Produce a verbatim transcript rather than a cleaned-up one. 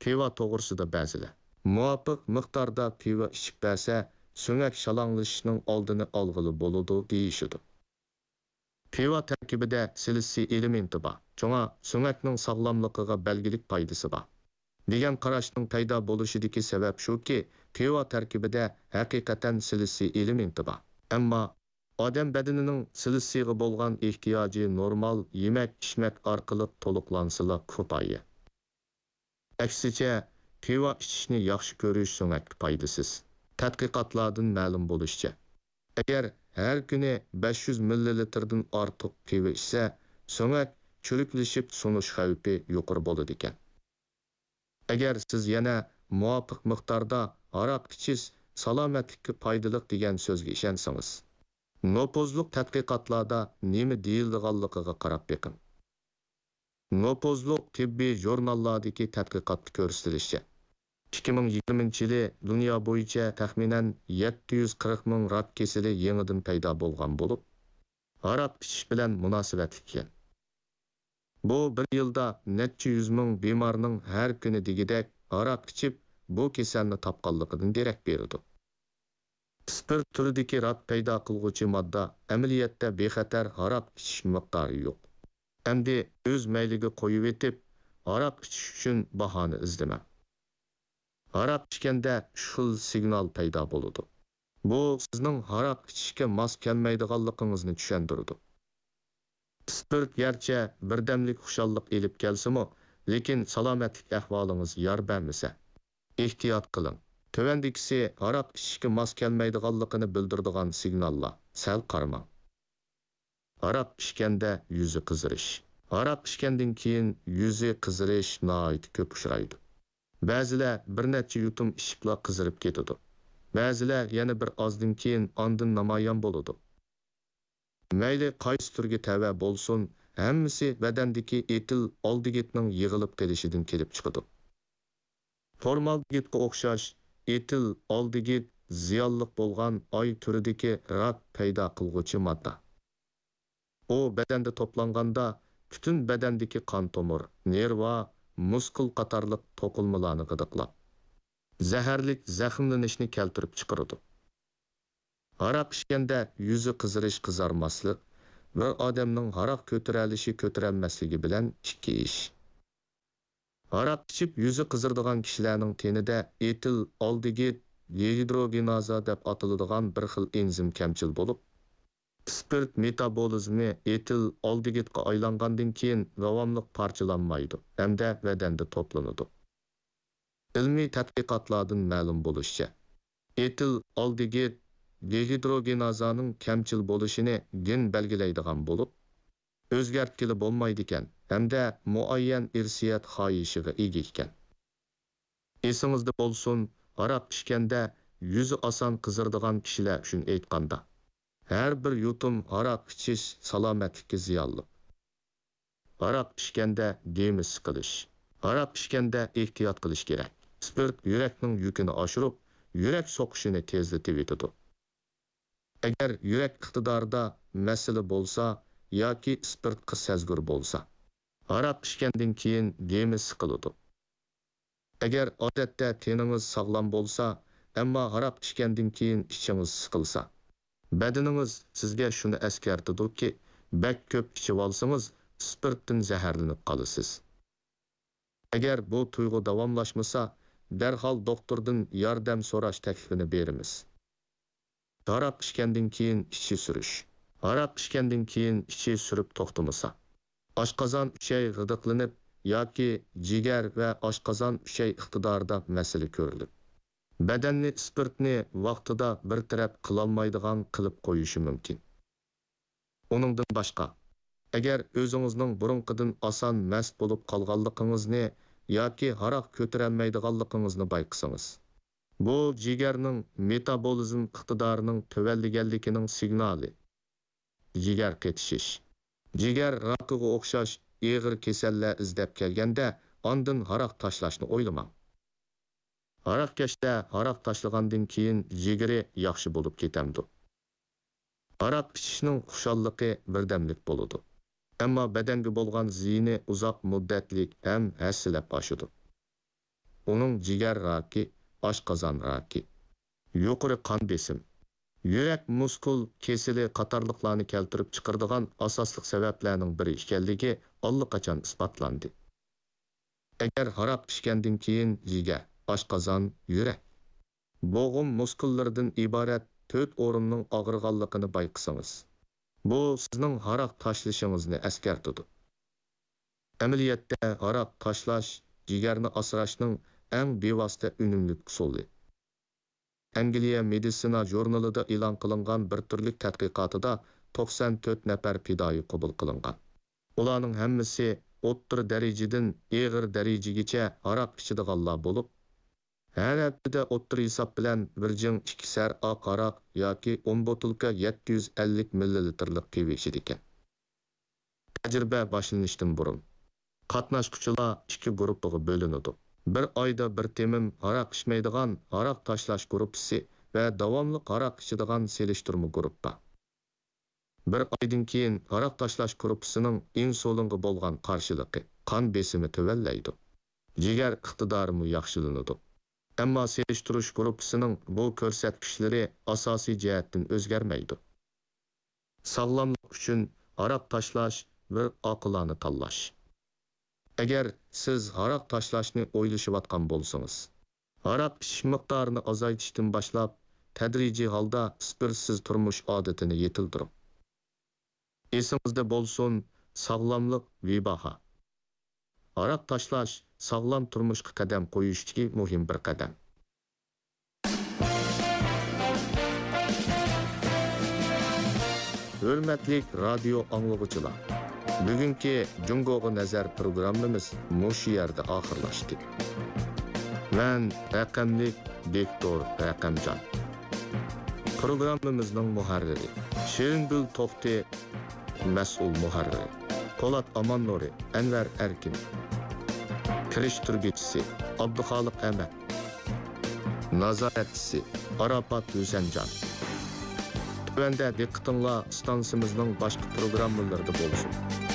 پىۋا توغرىسىدا بەزىلەر، مۇۋاپىق مىقداردا پىۋا ئىچىپ بەرسە، سۆڭەك شالاڭلىشىشنىڭ ئالدىنى ئالغىلى بولىدۇ، دېيىشىدۇ. پىۋا تەركىبىدە سىلىتسىي ئېلېمېنتى بار، شۇڭا سۆڭەكنىڭ ساغلاملىقىغا بەلگىلىك پايدىسى بار، دېگەن قاراشنىڭ پەيدا بولۇشىدىكى سەۋەب شۇكى، پىۋا تەركىبىدە ھەقىقەتەن سىلىتسىي ئېلېمېنتى بار. ئەمما ئادەم بەدىنىنىڭ سىلىتسىيغا بولغان ئېھتىياجى نورمال يېمەك-ئىچمەك ئارقىلىق تولۇقلانسىلا كۇپايە. ئەكسىچە، پىۋا ئىچىشنى ياخشى كۆرۈش سۆڭەككە پايدىسىز. تەتقىقاتلاردىن مەلۇم بولۇشىچە، ئەگەر ھەر كۈنى بەش يۈز مىللىلىتىردىن ئارتۇق پىۋا ئىچسە، سۆڭەك چۈرۈكلىشىپ سۇنۇش خەۋپى يۇقىرى بولىدىكەن. ئەگەر سىز يەنە مۇۋاپىق مىقداردا ھاراق ئىچىش سالامەتلىككە پايدىلىق دېگەن سۆزگە ئىشەنسىڭىز، نوپۇزلۇق تەتقىقاتلاردا نېمە دېيىلىدىغانلىقىغا قاراپ بېقىڭ. نوپۇزلۇق تېببىي ژۇرناللاردىكى تەتقىقاتتا كۆرسىتىلىشىچە، ئىككى مىڭ يىگىرمىنچى يىلى دۇنيا بويىچە تەخمىنەن يەتتە يۈز قىرىق مىڭ راك كېسىلى يېڭىدىن پەيدا بولغان بولۇپ، ھاراق ئىچىش بىلەن مۇناسىۋەتلىك ئىكەن. بۇ بىر يىلدا نەچچە يۈز مىڭ بىمارنىڭ ھەر كۈنى دېگۈدەك ھاراق ئىچىپ، بۇ كېسەلنى تاپقانلىقىدىن دېرەك بېرىدۇ. ئىسپىرت تۈرىدىكى راك پەيدا قىلغۇچى ماددا ئەمەلىيەتتە بىخەتەر ھاراق ئىچىش مىقدارى يوق. ئەمدى ئۆز مەيلىگە قويۇۋېتىپ، ھاراق ئىچىش ئۈچۈن باھانە ئىزدىمەڭ. ھاراق ئىچكەندە ئۈچ خىل سىگنال پەيدا بولىدۇ. بۇ سىزنىڭ ھاراق ئىچىشكە ماس كەلمەيدىغانلىقىڭىزنى چۈشەندۈرىدۇ. ئىسپىرت گەرچە بىردەملىك خۇشاللىق ئېلىپ كەلسىمۇ، لېكىن سالامەتلىك ئەھۋالىڭىز يار بەرمىسە، ئېھتىيات قىلىڭ. تۆۋەندىكىسى ھاراق ئىچىشكە ماس كەلمەيدىغانلىقىنى بىلدۈرىدىغان سىگناللار، سەل قارىماڭ. ھاراق ئىچكەندە يۈزى قىزىرىش. ھاراق ئىچكەندىن كېيىن يۈزى قىزىرىش ناھايىتى كۆپ ئۇچرايدۇ. بەزىلەر بىر نەچچە يۇتۇم ئىچىپلا قىزىرىپ كېتىدۇ. بەزىلەر يەنە بىر ئازدىن كېيىن ئاندىن نامايان بولىدۇ. مەيلى قايسى تۈرگە تەۋە بولسۇن، ھەممىسى بەدەندىكى ئېتىل ئالدېگىدنىڭ يىغىلىپ قېلىشىدىن كېلىپ چىقىدۇ. فورمالدېگىدقا ئوخشاش ئېتىل ئالدېگىد زىيانلىق بولغان ئاي تۈرىدىكى راك پەيدا قىلغۇچى ماددا. ئۇ بەدەندە توپلانغاندا، پۈتۈن بەدەندىكى قان تومۇر، نېرۋا، مۇسكۇل قاتارلىق توقۇلمىلارنى غىدىقلاپ، زەھەرلىك زەخىملىنىشنى كەلتۈرۈپ چىقىرىدۇ. ھاراق ئىچكەندە يۈزى قىزىرىش، قىزارماسلىق، بىر ئادەمنىڭ ھاراق كۆتۈرەلىشى، كۆتۈرەلمەسلىكى بىلەن ئىككى ئىش. ھاراق ئىچىپ يۈزى قىزىرىدىغان كىشىلەرنىڭ تېنىدە ئېتىل ئالدېگىد دېگىدروگېنازا دەپ ئاتىلىدىغان بىر خىل ئېنزىم كەمچىل بولۇپ، ئىسپىرت مېتابولىزمى ئېتىل ئالدېگىدقا ئايلانغاندىن كېيىن داۋاملىق پارچىلانمايدۇ ھەمدە بەدەندە توپلىنىدۇ. ئىلمىي تەتقىقاتلاردىن مەلۇم بولۇشىچە، ئېتىل ئالدېگىد دېگىدروگېنازانىڭ كەمچىل بولۇشىنى گېن بەلگىلەيدىغان بولۇپ، ئۆزگەرتكىلى بولمايدىكەن ھەمدە مۇئەييەن ئىرسىيەت خاھىشىغا ئىگە ئىكەن. ئېسىڭىزدە بولسۇن، ھاراق ئىچكەندە يۈزى ئاسان قىزىرىدىغان كىشىلەر ئۈچۈن ئېيتقاندا، ھەر بىر يۇتۇم ھاراق ئىچىش سالامەتلىككە زىيانلىق. ھاراق ئىچكەندە دېمى سىقىلىش. ھاراق ئىچكەندە ئېھتىيات قىلىش كېرەك. ئىسپىرت يۈرەكنىڭ يۈكىنى ئاشۇرۇپ، يۈرەك سوقۇشىنى تېزلىتىۋېتىدۇ. ئەگەر يۈرەك ئىقتىدارىدا مەسىلە بولسا ياكى ئىسپىرتقا سەزگۈر بولسا، ھاراق ئىچكەندىن كېيىن دېمى سىقىلىدۇ. ئەگەر ئادەتتە تېنىڭىز ساغلام بولسا، ئەمما ھاراق ئىچكەندىن كېيىن ئىچىڭىز سىقىلسا، بەدىنىڭىز سىزگە شۇنى ئەسكەرتىدۇكى، بەك كۆپ ئىچىۋالسىڭىز، ئىسپىرتتىن زەھەرلىنىپ قالىسىز. ئەگەر بۇ تۇيغۇ داۋاملاشمىسا، دەرھال دوختۇردىن ياردەم سوراش تەكلىپىنى بېرىمىز. ھاراق ئىچكەندىن كېيىن ئىچى سۈرۈش. ھاراق ئىچكەندىن كېيىن ئىچى سۈرۈپ توختىمىسا، ئاشقازان ئۈچەي غىدىقلىنىپ ياكى جىگەر ۋە ئاشقازان ئۈچەي ئىقتىدارىدا مەسىلە كۆرۈلۈپ، بەدەننى ئىسپىرتنى ۋاقتىدا بىر تەرەپ قىلالمايدىغان قىلىپ قويۇشى مۇمكىن. ئۇنىڭدىن باشقا، ئەگەر ئۆزىڭىزنىڭ بۇرۇنقىدىن ئاسان مەست بولۇپ قالغانلىقىڭىزنى ياكى ھاراق كۆتۈرەلمەيدىغانلىقىڭىزنى بايقىسىڭىز، بۇ جىگەرنىڭ مېتابولىزم ئىقتىدارىنىڭ تۆۋەنلىگەنلىكىنىڭ سىگنالى. جىگەر قېتىشىش. جىگەر راكىغا ئوخشاش ئېغىر كېسەللەر ئىزدەپ كەلگەندە، ئاندىن ھاراق تاشلاشنى ئويلىماڭ. ھاراقكەشتە ھاراق تاشلىغاندىن كېيىن جىگىرى ياخشى بولۇپ كېتەمدۇ؟ ھاراق ئىچىشنىڭ خۇشاللىقى بىردەملىك بولىدۇ، ئەمما بەدەنگە بولغان زىيىنى ئۇزاق مۇددەتلىك ھەم ھەسسىلەپ ئاشىدۇ. ئۇنىڭ جىگەر راكى، ئاشقازان راكى، يۇقىرى قان بېسىم، يۈرەك مۇسكۇل كېسىلى قاتارلىقلارنى كەلتۈرۈپ چىقىرىدىغان ئاساسلىق سەۋەبلەرنىڭ بىرى ئىكەنلىكى ئاللىقاچان ئىسپاتلاندى. ئەگەر ھاراق ئىچكەندىن كېيىن جىگەر، ئاشقازان، يۈرەك، بوغۇم مۇسكۇللىرىدىن ئىبارەت تۆت ئورۇننىڭ ئاغرىغانلىقىنى بايقىسىڭىز، بۇ سىزنىڭ ھاراق تاشلىشىڭىزنى ئەسكەرتىدۇ. ئەمەلىيەتتە، ھاراق تاشلاش جىگەرنى ئاسراشنىڭ ئەڭ بىۋاسىتە ئۈنۈملۈك ئۇسۇلى. ئەنگلىيە مېدىتسىنا ژۇرنىلىدا ئېلان قىلىنغان بىر تۈرلۈك تەتقىقاتىدا توقسان تۆت نەپەر پىدائىي قوبۇل قىلىنغان. ئۇلارنىڭ ھەممىسى ئوتتۇرا دەرىجىدىن ئېغىر دەرىجىگىچە ھاراق ئىچىدىغانلار بولۇپ، ھەر ھەپتىدە ئوتتۇرا ھېساب بىلەن بىر جىڭ ئىككى سەر ئاق ھاراق ياكى ئون بوتۇلكا يەتتە يۈز ئەللىك مىللىلىتىرلىق پىۋا ئىچىدىكەن. تەجرىبە باشلىنىشتىن بۇرۇن، قاتناشقۇچىلار ئىككى گۇرۇپپىغا بۆلۈنىدۇ. بىر ئايدا بىر تېمىم ھاراق ئىچمەيدىغان ھاراق تاشلاش گۇرۇپپىسى ۋە داۋاملىق ھاراق ئىچىدىغان سېلىشتۇرما گۇرۇپپا. بىر ئايدىن كېيىن ھاراق تاشلاش گۇرۇپپىسىنىڭ ئىنسۇلىنغا بولغان قارشىلىقى، قان بېسىمى تۆۋەنلەيدۇ. جىگەر ئىقتىدارىمۇ ياخشىلىنىدۇ. ئەمما سېلىشتۇرۇش گۇرۇپپىسىنىڭ بۇ كۆرسەتكۈچلىرى ئاساسىي جەھەتتىن ئۆزگەرمەيدۇ. ساغلاملىق ئۈچۈن ھاراق تاشلاش بىر ئاقىلانە تاللاش. ئەگەر سىز ھاراق تاشلاشنى ئويلىشىۋاتقان بولسىڭىز، ھاراق ئىچىش مىقدارىنى ئازايتىشتىن باشلاپ، تەدرىجىي ھالدا ئىسپىرتسىز تۇرمۇش ئادىتىنى يېتىلدۈرۈڭ. ئېسىڭىزدە بولسۇن، ساغلاملىق بىباھا. ھاراق تاشلاش ساغلام تۇرمۇشقا قەدەم قويۇشتىكى مۇھىم بىر قەدەم. ھۆرمەتلىك رادىيو ئاڭلىغۇچىلار، بۈگۈنكى جۇڭگوغا نەزەر پروگراممىمىز مۇشۇ يەردە ئاخىرلاشتى. مەن رەقەملىك دىكتور رەقەمجان. پروگراممىمىزنىڭ مۇھەررىرى شېرىنگۈل توختى، مەسئۇل مۇھەررىر پولات ئاماننۇرى، ئەنۋەر ئەركىن. كىرىشتۈرگۈچىسى ئابدۇخالىق ئەمەت. نازارەتچىسى ئاراپات ھۈسەنجان. تۆۋەندە دىققىتىڭلار ئىستانسىمىزنىڭ باشقا پروگراممىلىرىدا بولسۇن.